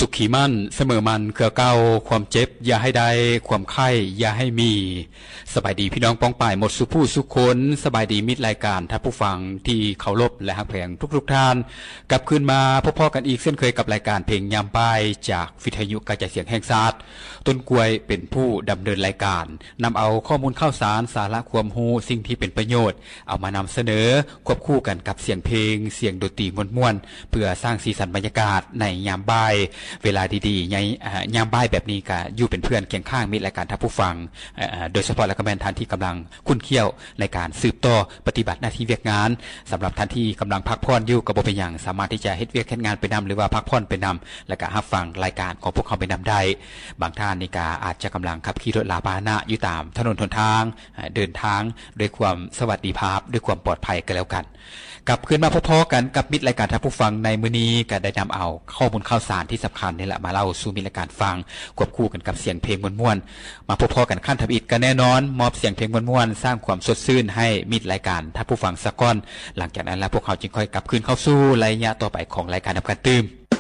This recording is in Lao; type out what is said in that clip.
ສຸຂີໝັ້ນສະເໝີໝັ້ນເຄືອເກົ່າ, ຄວາມເຈັບຢ່າໃຫ້ໄດ້, ຄວາມໄຂ້ຢ່າໃຫ້ມີ. ສະບາຍດີພີ່ນ້ອງປ້ອງປາຍໝົດສູ່ຜູ້ສູ່ຄົນ, ສະບາຍດີມິດລາຍການທ່ານຜູ້ຟັງທີ່ເຄົາລົບ ແລະ ຮັກແພງທຸກໆທ່ານ. ກັບຄືນມາພົບພໍ້ກັນອີກເຊັ່ນເຄີຍກັບລາຍການເພງຍາມບ່າຍ ຈາກວິທະຍຸກະຈາຍສຽງແຫ່ງຊາດ. ຕົ້ນກ້ວຍເປັນຜູ້ດຳເນີນລາຍການ, ນຳເອົາຂໍ້ມູນຂ່າວສານ, ສາລະຄວາມຮູ້, ສິ່ງທີ່ເປັນປະໂຫຍດ ເອົາມານຳສະເໜີ ຄວບຄູ່ກັນກັບສຽງເພງ, ສຽງດົນຕີມ່ວນໆ ເພື່ອສ້າງສີສັນບັນຍາກາດໃນຍາມບ່າຍ. ເວລາດີໆ ໃນ ເອີ່ ຍາມບ່າຍແບບນີ້ ກະຢູ່ເປັນເພື່ອນຄຽງຂ້າງມິດລາຍການທ່ານຜູ້ຟັງ, ເອີ່ ໂດຍສະເພາະແລ້ວກະແມ່ນທ່ານທີ່ກຳລັງຂຸ້ນຂ້ຽວໃນການສືບຕໍ່ປະຕິບັດໜ້າທີ່ວຽກງານ. ສຳລັບທ່ານທີ່ກຳລັງພັກຜ່ອນຢູ່ກະບໍ່ເປັນຫຍັງ, ສາມາດທີ່ຈະເຮັດວຽກເຮັດງານໄປນຳ ຫຼືວ່າພັກຜ່ອນໄປນຳ ແລະກະຮັບຟັງລາຍການຂອງພວກເຮົາໄປນຳໄດ້. ບາງທ່ານນີ້ກະອາດຈະກຳລັງຂັບຂີ່ລົດລາພາຫະນະຢູ່ຕາມຖະໜົນຫົນທາງ, ເດີນທາງດ້ວຍຄວາມສະຫວັດດີພາບ, ດ້ວຍຄວາມປອດໄພກະແລ້ວກັນ. ກັບຄືນມາພົບພໍ້ກັນກັບມິດລາຍການທ່ານຜູ້ຟັງໃນມື້ນີ້, ກະໄດ້ນຳເອົາຂໍ້ມູນຂ່າວສານທີ່ສຳຄັນນີ້ແຫຼະ ມາເລົ່າສູ່ມິດລາຍການຟັງ, ຄວບຄູ່ກັນກັບສຽງເພງມ່ວນໆ. ມາພົບພໍ້ກັນຄັ້ງທຳອິດ, ກະແນ່ນອນ ມອບສຽງເພງມ່ວນໆ, ສ້າງຄວາມສົດຊື່ນໃຫ້ມິດລາຍການທ່ານຜູ້ຟັງສາກ່ອນ. ຫຼັງຈາກນັ້ນລະ ພວກເຮົາຈຶ່ງຄ່ອຍກັບຄືນເຂົ້າສູ່ໄລຍະຕໍ່ໄປຂອງລາຍການນຳກັນຕື່ມ.